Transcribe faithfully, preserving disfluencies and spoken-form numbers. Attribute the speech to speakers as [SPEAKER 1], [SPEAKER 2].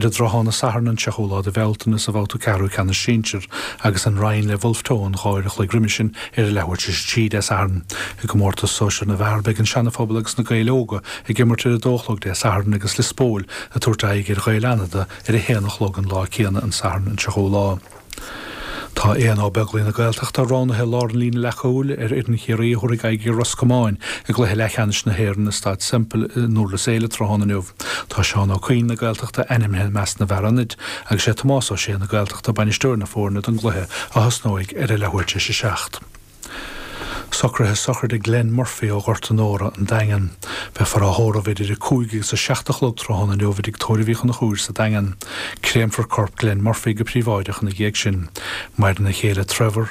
[SPEAKER 1] I dtráthnóna Sathairn an seachtú lá de Bhealtaine sa bhabhta ceathrú ceannais sinsir agus an Rinn le Bhulf Tón dhá uair a chloig roimhe sin ar a leathuair tar éis a trí Dé Sathairn. I gcomórtas sóisir na bhfear beidh an Seana-Phobal agus na Gaeil Óga ag imirt ar a dó a chlog Dé Sathairn agus Lios Póil ag tabhairt aghaidh ar Ghaeil Fhánada ar a haon a chlog an lá céanna an Satharn an seachtú lá. Tá Éanna Ó Beaglaoich na Gaeltachta roghnaithe i lár an líne leathchúil ar fhoireann Chiarraí a thabharfaidh aghaidh ar Ros Comáin i gcluiche leathcheannais na hÉireann i Staid Semple i nDurlas Éile tráthnóna inniu. Tá Seán Ó Cuinn na Gaeltachta ainmnithe i measc na bhfear ionaid agus sé Tomás Ó Sé na Gaeltachta bainisteoir na foirne don gcluiche a thosnóidh ar a leathuair tar éis a seacht. Socruithe sochraide Glenn Murphy ó Ghort an Óra an Daingean. Beifear á thórramh idir a cúig agus a seacht a chlog tráthnóna inniu i dTigh Tórraimh Uí Chonchúir sa Daingean. Créamfar corp Glenn Murphy go príobháideach ina dhiaidh sin. Maireann a chéile Trevor,